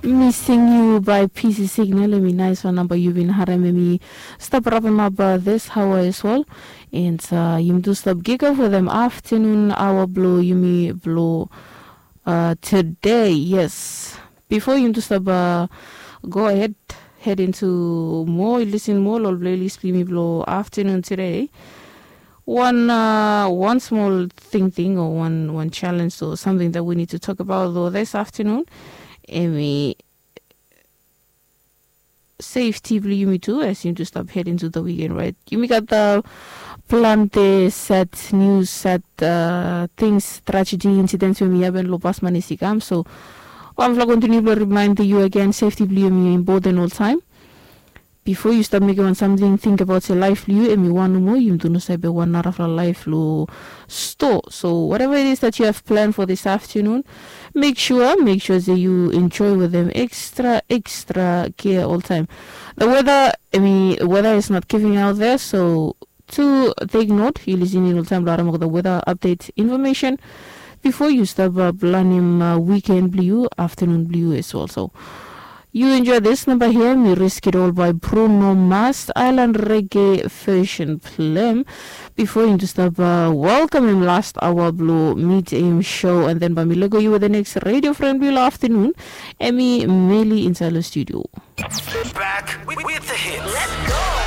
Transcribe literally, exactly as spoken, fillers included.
Missing You by P C Signal, hemi naes wan namba yu bin harem, hemi stap rapemap this hour as well. And uh, yumi tu stap kick off wetem afternoon hour blo yumi blo uh, today, yes. Before yumi tu stap uh, go ahead, head into more, listen more lo ol playlist blo yumi blo afternoon today. One uh, one small thing thing or one one challenge or something that we need to talk about though this afternoon. Hemi safety blo yumi tu as yumi tu stap head into the weekend, right? Yumi gat the plante sad news, sad uh, things, tragedy, incidents we hemi happen lo past manis i kam. So wan fla continue blo remind yu again, safety blo yumi important all time. Before yu stap mekem wan samting, think about se laef blo yu hemi wan nomo, yumi tu no save wan narafala laef lo sto. So whatever it is that you have planned for this afternoon, make sure, make sure se yu enjoy wetem extra extra care all time. The weather, I mean, weather is not giving out there, so to take note, yu listening all time lo harem the weather update information before yu stap uh, planem uh, weekend blo yu, afternoon blo yu as well. So you enjoy this number here, Mi Risk It All by Bruno Mars, Island Reggae version plem. Before yumi tu stap uh, welcome him last hour blo mid am show, and then by mi lego you with the next radio friend blo afternoon, Emmy Meli inside the studio. Back with, with the hits.